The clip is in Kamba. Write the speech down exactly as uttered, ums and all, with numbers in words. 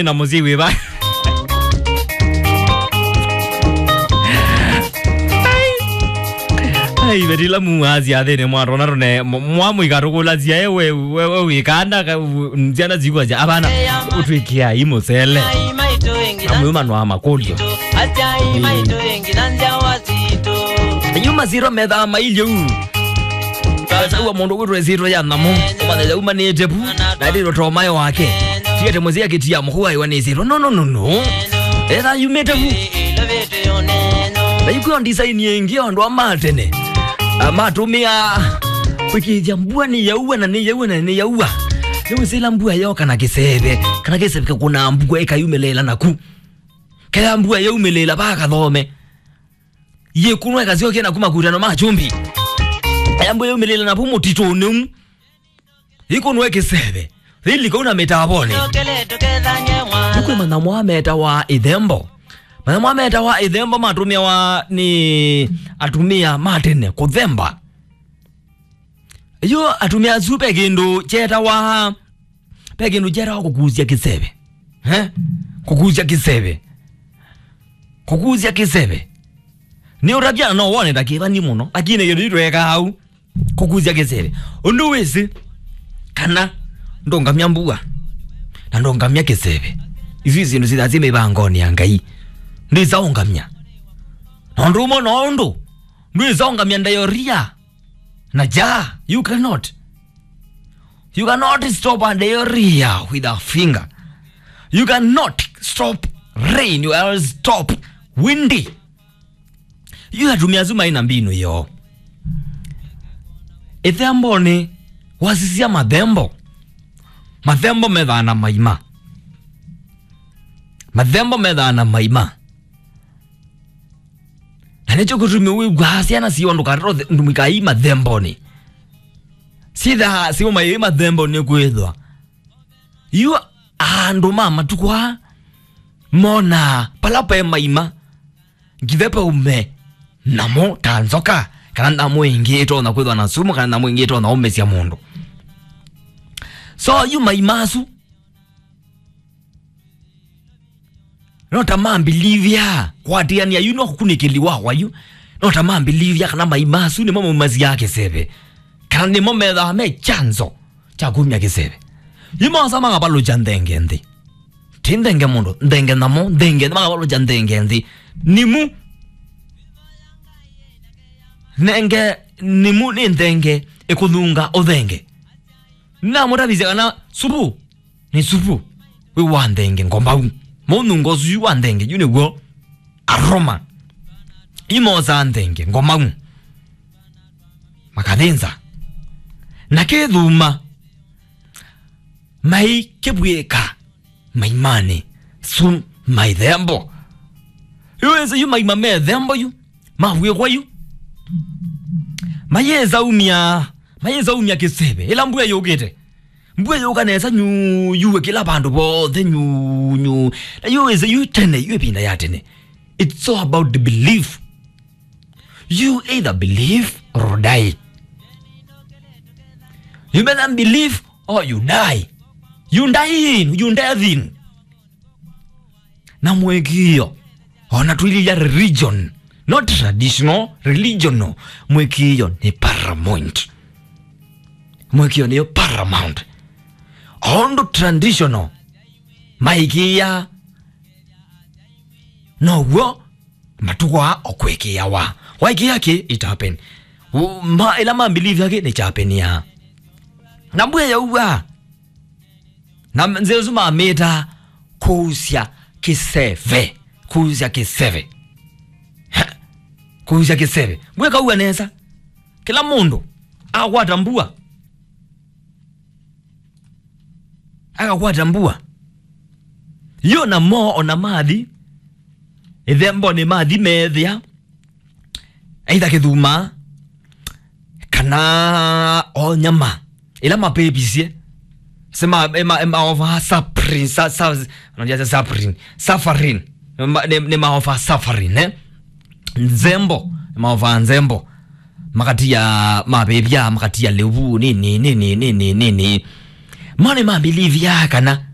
Na mũsyai wĩva? Ai, vetila muasya thĩnĩ mwatona tũne mwamũika tũkũlasya ewe we wĩkanda. Syana sikwasya avana ũtwĩkĩai mũsele. Amwĩmanwa makũlyo. Yu masiro methaa mailye u. Saua mũndũ kwĩtwa ĩsyĩtwa ya nyamũ, ũmanya yaumanĩte vu, na ĩtĩtwa tomae wake. Tiete mũsyĩ akĩtia mũkũaĩwa nĩ ĩsyĩtwa. No, no, no, no. Etha yumĩte vu. Na yu kwĩo ndisaini ĩngĩ, andũ a ma tene, a, matũmĩa kwĩkĩĩthya mbua nĩyaua, na nĩyaua, na nĩyaua. Nĩwĩsĩla mbua yoka na kĩseve, kana kĩseve kĩkũnaa mbua ĩkayumĩlĩĩla naku. Kaya mbua yaumĩlĩĩla vaa kathome. Yĩkunwa ĩkasyokia naku makutano ma kyũmbi. Aya mbua yaumĩlĩĩla navu mũtitũnĩ ũu. Yĩkunwa ĩkĩseve. Yĩlika ũu na mĩtavonĩ. Nĩkwĩ manyamũ aa metawa ĩthembo. Manyamũ aa metawa ĩthembo matũmĩawa nĩ atumĩa ma tene kũthemba. Yu atumĩa asu ve kĩndũ kyetawa, ve kĩndũ kyetawa kũkusya kĩseve. Eh? Kũkusya kĩseve. Kũkusya kĩseve. Nĩ ũtavya na no wone ta kĩvani mũno, lakini kĩndũ yu twekaa au. Kũkusya kĩseve. Ũndũ wĩsĩ kana ndũngamya mbua na ndũngamya kĩseve. Isu syĩndũ syĩthaa syĩ mĩvangonĩ ya Ngai. Ndwĩsa ũngamya. Na ũndũ ũmwe no ũndũ ndwĩsa ũngamya diarrhea. Na ja, you cannot. You cannot stop a diarrhea with a finger. You cannot stop rain, you cannot stop windy. Yu atumĩa asu maĩ na mbinu yoo. Ĩthembonĩ wasisya mathembo. Mathembo methaa na maima. Mathembo methaa na maima. Na nĩkyo kĩtumi wĩw'aa syana siwa ndũkatata ndũmĩkai mathembonĩ. Syĩthaa siwa maĩ mathembonĩ kwĩthwa. Yu andũ ma matukũ aa monaa pala pe maima, ngithe paume nyamũ ta nzoka, kana nyamũ ĩngĩ ĩtonya kwĩthwa na sumu, kana nyamũ ĩngĩ ĩtonya ũmĩsya mũndũ. So yu maima asu no ta mambilivya kwatĩanĩa yu no kũkunĩkĩli wakwa yu. No ta mambilivya kana maima asu nĩmo maumasyaa kĩseve, kana nĩmo methaa me chanzo kya kumya kĩseve. Yu mosa makavalũkya nthenge nthĩ. Ti nthenge mũndũ, nthenge nyamũ, nthenge nthĩ, makavalũkya nthenge nthĩ. Nimu. Nthenge, nimu nĩ nthenge ĩkũthunga ũthenge. Namũtavisya kana supu nĩ supu wĩ wa nthenge ngomau. Mũnungo ũsu yu wa nthenge yu nĩw'o aroma. Yu mosaa nthenge ngomau. Makathĩnza. Na kĩthuma. Maikĩvw'ĩka maimanĩ su maithembo. Yu wĩsĩ yu maima methembo yu. Mavw'ĩkwa yu. Mayĩsa umya, mayĩsa umya kĩseve. Ĩla mbua yũkĩte. Mbua yũka nesa nyu, yuwe kĩla vandũ vothe nyu, nyu. Na yu wĩsĩ yu tene, yu ĩvinda ya tene. It's all about the belief. You either believe or die. You better believe or you die. You die in, you death in. Na mũĩkĩĩo, ona twĩlilya religion, not traditional, religional, mũĩkĩĩo nĩ paramount. Mũĩkĩĩo nĩyo paramount. O ũndũ traditional maĩkĩĩa, now'o matukũ aa o kwĩkĩĩawa. Waĩkĩĩa kĩ, it happen. U-, ma, ĩla ma believe yake nĩ chapenia. Na mbua yaua. Na nzĩa ĩsu mamĩtaa kũusya kĩseve. Kũusya kĩseve. Kũusya kĩseve. Mbua ĩkaua nesa. Kĩla mũndũ akwata mbua. Akakwata mbua. Yo namo ona mathi. Ĩthembonĩ mathi meethĩa. Either kĩthuma, kana o nyama. Ĩla mapepisye. Se ma, ema, ema offer saprin, sa, sa, unajua sa saprin, safarin. Nĩ ma, nĩ, nĩ ma offer safarin, eh? Nzembo, nĩ ma offer nzembo. Makatia mapepya, makatia lĩu, nini, nini, nini, nini. Mane mabilivya kana